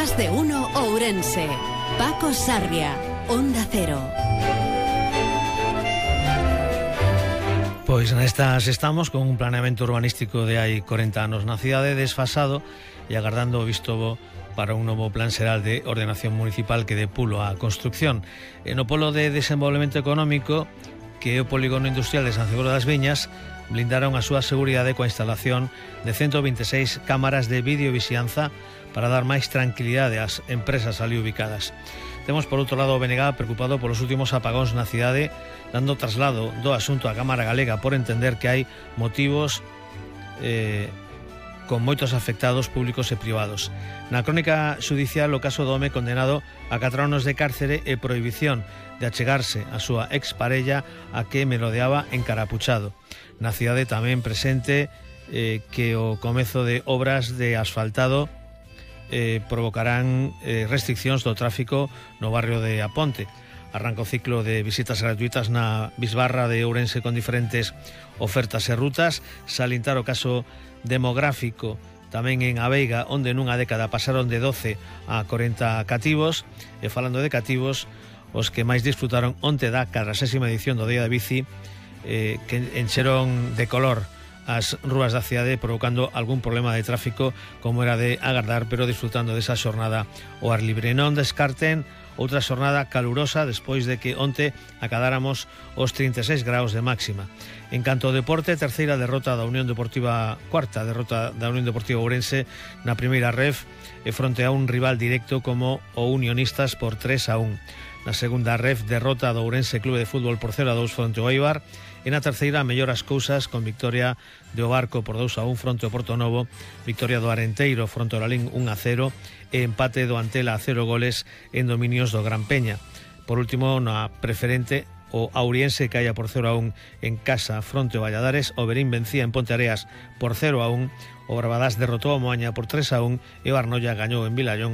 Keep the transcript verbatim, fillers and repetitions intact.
Más de uno Ourense. Paco Sarria, Onda Cero. Pois nestas estamos con un planeamento urbanístico de hai corenta anos na cidade, desfasado e agardando o visto bo para un novo plan xeral de ordenación municipal que dé pulo á construcción. E no polo de desenvolvemento económico, que é o polígono industrial de San Cibró das Viñas, blindaron a súa seguridade coa instalación de ciento vinte e seis cámaras de videovixianza para dar máis tranquilidade ás empresas ali ubicadas. Temos por outro lado o B N G preocupado polos últimos apagóns na cidade, dando traslado do asunto á Cámara Galega por entender que hai motivos eh, con moitos afectados públicos e privados. Na crónica xudicial o caso do home condenado a catro anos de cárcere e prohibición de achegarse a súa exparella a que merodeaba encarapuchado. Na cidade tamén presente eh, que o comezo de obras de asfaltado Eh, provocarán eh, restriccións do tráfico no barrio de Aponte. Arranca o ciclo de visitas gratuitas na bisbarra de Ourense con diferentes ofertas e rutas. Salintar o caso demográfico tamén en Aveiga, onde nunha década pasaron de doce a corenta cativos. E falando de cativos, os que máis disfrutaron onte da cadrasésima edición do Día da Bici, eh, que encheron de color as rúas da cidade, provocando algún problema de tráfico, como era de agardar, pero disfrutando desa xornada ao ar libre. Non descarten outra xornada calurosa despois de que onte acadáramos os trinta e seis graus de máxima. En canto ao deporte, terceira derrota da Unión Deportiva, cuarta derrota da Unión Deportiva Ourense na primeira ref, e fronte a un rival directo como o Unionistas por tres a un. Na segunda ref, derrota do Ourense Clube de Fútbol por cero a dous fronte ao Eibar. E na terceira, mellor as cousas con victoria do Barco por dous a un fronte ao Portonovo, victoria do Arenteiro fronte ao Lalín un a cero e empate do Antela a cero goles en dominios do Gran Peña. Por último, na preferente, o Auriense caía por cero a un en casa fronte ao Valladares, o Berín vencía en Ponteareas por cero a un, o Barbadás derrotou a Moaña por tres a un e o Arnoia gañou en Vilallonga